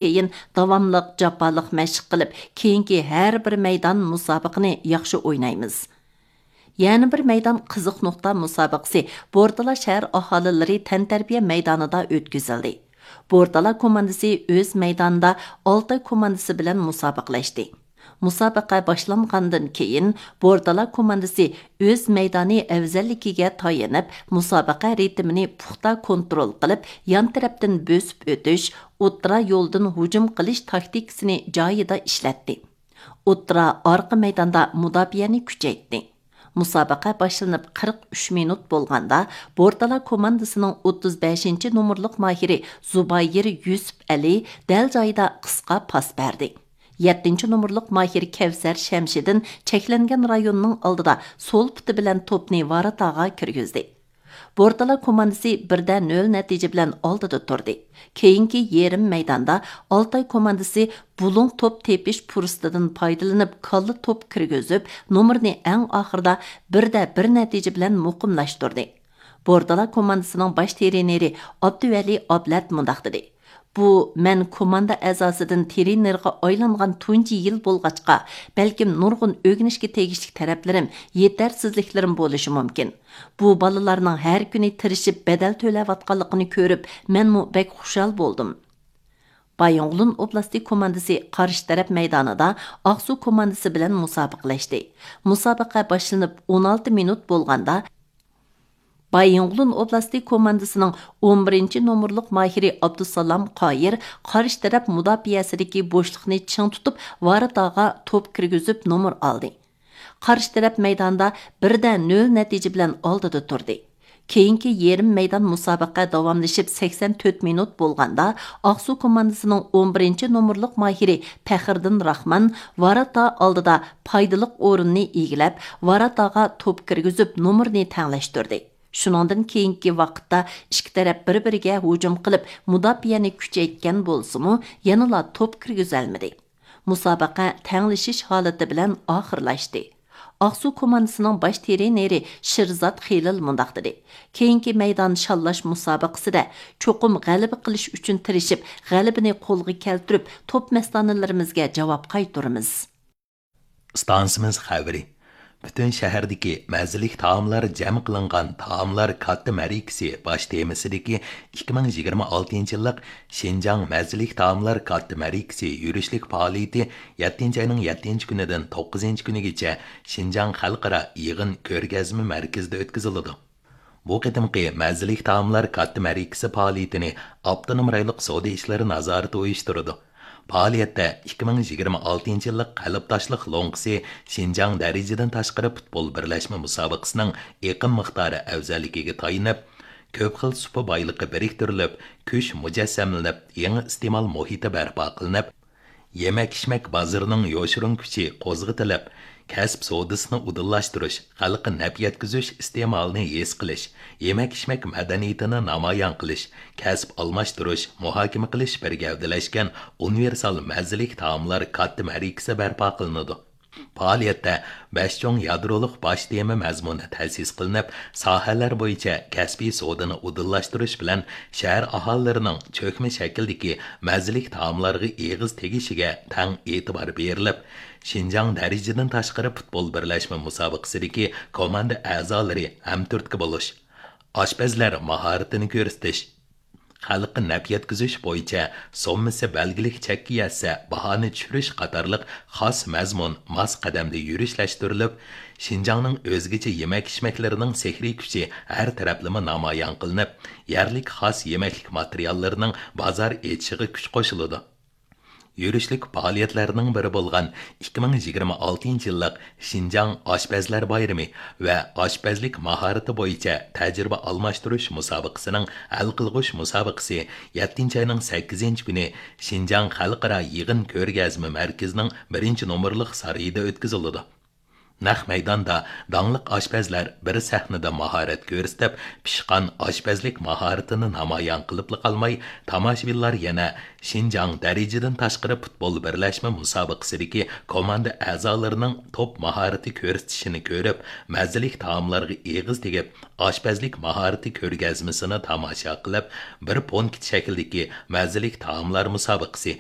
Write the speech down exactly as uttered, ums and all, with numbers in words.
كېيىن داۋاملىق جاپالىق مەشىق قىلىپ، كېيىنكى ھەر بىر مەيدان مۇسابىقىنى ياخشى ئوينايمىز. يەنە بىر مەيدان قىزىق نۇقتا مۇسابىقىسى بورتالا شەھەر ئاھالىلىرى تەنتەربىيە مەيدانىدا ئۆتكۈزۈلدى. بورتالا كوماندىسى ئۆز مەيدانىدا ئالتاي كوماندىسى بىلەن مۇسابىقىلەشتى. مۇسابىقە باشلانغاندىن كېيىن، بورتالا كوماندىسى ئۆز مەيدانى ئەۋزەللىكىگە تايىنىپ، مۇسابىقە رىتىمىنى پۇختا كونترول قىلىپ، يان تەرەپتىن بۆسۈپ ئۆتۈش، ئوتتۇرا يولدىن ھۇجۇم قىلىش تاكتىكىسىنى جايىدا ئىشلەتتى. ئوتتۇرا، ئارقا مەيداندا مۇداپىئەنى كۈچەيتتى. مۇسابىقە باشلىنىپ قىرىق ئۈچ مىنۇت بولغاندا، بورتالا كوماندىسىنىڭ ئوتتۇز بەشىنچى نومۇرلۇق ماھىرى زۇبايىر يۈسۈپ ئەلى دەل جايىدا قىسقا پاس بەردى. يەتتىنچى نومۇرلۇق ماھىر كەۋسەر شەمشىدىن چەكلەنگەن رايوننىڭ ئالدىدا سول پۇتى بىلەن توپنى ۋاراتاغا كىرگۈزدى. بورتالا كوماندىسى بىردە نۆل نەتىجە بىلەن ئالدىدا تۇردى. كېيىنكى يېرىم مەيداندا ئالتاي كوماندىسى بۇلۇڭ توپ تېپىش پۇرسىتىدىن پايدىلىنىپ، كاللا توپ كىرگۈزۈپ، نومۇرنى ئەڭ ئاخىرىدا بىردە بىر نەتىجە بىلەن مۇقىملاشتۇردى. بورتالا كوماندىسىنىڭ باش ترېنېرى ئابدۇۋەلى ئابلەت مۇنداق دېدى: بۇ مەن كوماندا ئەزاسىدىن ترېنېرغا ئايلانغان تۇنجى يىل بولغاچقا، بەلكىم نۇرغۇن ئۆگىنىشكە تېگىشلىك تەرەپلىرىم، يېتەرسىزلىكلىرىم بولۇشى مۇمكىن. بۇ بالىلارنىڭ ھەر كۈنى تىرىشىپ بەدەل تۆلەۋاتقانلىقىنى كۆرۈپ، مەنمۇ بەك خۇشال بولدۇم. بايىنغولىن ئوبلاستى كوماندىسى قارشى تەرەپ مەيدانىدا ئاقسۇ كوماندىسى بىلەن مۇسابىقىلەشتى. مۇسابىقە باشلىنىپ ئون ئالتە مىنۇت بولغاندا، بايىنغولىن ئوبلاستى كوماندىسىنىڭ ئون بىرىنچى نومۇرلۇق ماھىرى ئابدۇسالام قايىر قارشى تەرەپ مۇداپىئەسىدىكى بوشلۇقنى چىڭ تۇتۇپ، ۋاراتاغا توپ كىرگۈزۈپ نومۇر ئالدى. قارشى تەرەپ مەيداندا بىردە نۆل نەتىجە بىلەن ئالدىدا تۇردى. كېيىنكى يېرىم مەيدان مۇسابىقە داۋاملىشىپ سەكسەن تۆت مىنۇت بولغاندا، ئاقسۇ كوماندىسىنىڭ ئون بىرىنچى نومۇرلۇق ماھىرى پەخرىدىن راخمان ۋاراتا ئالدىدا پايدىلىق ئورۇننى ئىگىلەپ، ۋاراتاغا توپ كىرگۈزۈپ، نومۇرنى تەڭلەشتۈردى. شۇنىڭدىن كېيىنكى ۋاقىتتا ئىككى تەرەپ بىر-بىرىگە ھۇجۇم قىلىپ، مۇداپىئەنى كۈچەيتكەن بولسىمۇ، يەنىلا توپ كىرگۈزەلمىدى. مۇسابىقە تەڭلىشىش ھالىتى بىلەن ئاخىرلاشتى. ئاقسۇ كوماندىسىنىڭ باش ترېنېرى شىرزات خېلىل مۇنداق دېدى: كېيىنكى مەيدان شاللاش مۇسابىقىسىدە چوقۇم غەلىبە قىلىش ئۈچۈن تىرىشىپ، غەلىبىنى قولغا كەلتۈرۈپ، توپ مەستانىلىرىمىزگە جاۋاب قايتۇرىمىز. ئىستانسىمىز خەۋىرى. پۈتۈن شەھەردىكى مەززىلىك تائاملار جەم قىلىنغان تائاملار كاتتا مەرىكىسى باش تېمىسىدىكى ئىككى مىڭ يىگىرمە ئالتىنچى يىللىق شىنجاڭ مەززىلىك تائاملار كاتتا مەرىكىسى يۈرۈشلۈك پائالىيىتى يەتتىنچى ئاينىڭ يەتتىنچى كۈنىدىن توققۇزىنچى كۈنىگىچە شىنجاڭ خەلقئارا يىغىن كۆرگەزمە مەركىزىدە ئۆتكۈزۈلىدۇ. بۇ قېتىمقى مەززىلىك تائاملار كاتتا مەرىكىسى پائالىيىتىنى ئاپتونوم رايونلۇق سودا ئىشلىرى نازارىتى ئۇيۇشتۇرىدۇ. پائالىيەتتە ئىككى مىڭ يىگىرمە ئالتىنچى يىللىق قەلبداشلىق لوڭقىسى شىنجاڭ دەرىجىدىن تاشقىرى پۇتبول بىرلەشمە مۇسابىقىسىنىڭ ئېقىم مىقدارى ئەۋزەللىكىگە تايىنىپ، كۆپ خىل سۇپا بايلىقى بىرىكتۈرۈلۈپ، كۈچ مۇجەسسەملىنىپ، يېڭى ئىستېمال مۇھىتى بەرپا قىلىنىپ، يېمەك-ئىچمەك بازىرىنىڭ يوشۇرۇن كۈچى قوزغىتىلىپ، كەسىپ سودىسىنى ئۇدۇللاشتۇرۇش، خەلققە نەپ يەتكۈزۈش ئىستېمالىنى ھېس قىلىش، يېمەك-ئىچمەك مەدەنىيىتىنى نامايان قىلىش، كەسىپ ئالماشتۇرۇش، مۇھاكىمە قىلىش بىر گەۋدىلەشكەن ئۇنىۋېرسال مەززىلىك تائاملار كاتتا مەرىكىسى بەرپا قىلىنىدۇ. پائالىيەتتە بەش چوڭ يادرولۇق باش تېما مەزمۇنى تەسىس قىلىنىپ، ساھەلەر بويىچە كەسپىي سودىنى ئۇدۇللاشتۇرۇش بىلەن شەھەر ئاھالىلىرىنىڭ چۆكمە شەكىلدىكى مەززىلىك تائاملارغا ئېغىز تېگىشىگە تەڭ ئېتىبار بېرىلىپ، شىنجاڭ دەرىجىدىن تاشقىرى پۇتبول بىرلەشمە مۇسابىقىسىدىكى كوماندا ئەزالىرى ھەمتۈرتكە بولۇش، ئاشپەزلەر ماھارىتىنى كۆرسىتىش، خەلققە نەپ يەتكۈزۈش بويىچە سوممىسى بەلگىلىك چەككە يەتسە، باھانى چۈشۈرۈش قاتارلىق خاس مەزمۇن ماس قەدەمدە يۈرۈشلەشتۈرۈلۈپ، شىنجاڭنىڭ ئۆزگىچە يېمەك-ئىچمەكلىرىنىڭ سېھرىي كۈچى ھەر تەرەپلىمە نامايان قىلىنىپ، يەرلىك خاس يېمەكلىك ماتېرىياللىرىنىڭ بازار ئېچىشىغا كۈچ قوشۇلىدۇ. يۈرۈشلۈك پائالىيەتلەرنىڭ بىرى بولغان ئىككى مىڭ يىگىرمە ئالتىنچى يىللىق شىنجاڭ ئاشپەزلەر بايرىمى ۋە ئاشپەزلىك ماھارىتى بويىچە تەجرىبە ئالماشتۇرۇش مۇسابىقىسىنىڭ ھەل قىلغۇچ مۇسابىقىسى يەتتىنچى ئاينىڭ سەككىزىنچى كۈنى شىنجاڭ خەلقئارا يىغىن كۆرگەزمە مەركىزىنىڭ بىرىنچى نومۇرلۇق سارىيىدا ئۆتكۈزۈلىدۇ. نەق مەيداندا داڭلىق ئاشپەزلەر بىر سەھنىدە ماھارەت كۆرسىتىپ، پىشقان ئاشپەزلىك ماھارىتىنى نامايان قىلىپلا قالماي، تاماشىبىنلار يەنە شىنجاڭ دەرىجىدىن تاشقىرى پۇتبول بىرلەشمە مۇسابىقىسىدىكى كوماندا ئەزالىرىنىڭ توپ ماھارىتى كۆرسىتىشىنى كۆرۈپ، مەززىلىك تائاملارغا ئېغىز تېگىپ، ئاشپەزلىك ماھارىتى كۆرگەزمىسىنى تاماشا قىلىپ، بىر پونكىت شەكلىدىكى مەززىلىك تائاملار مۇسابىقىسى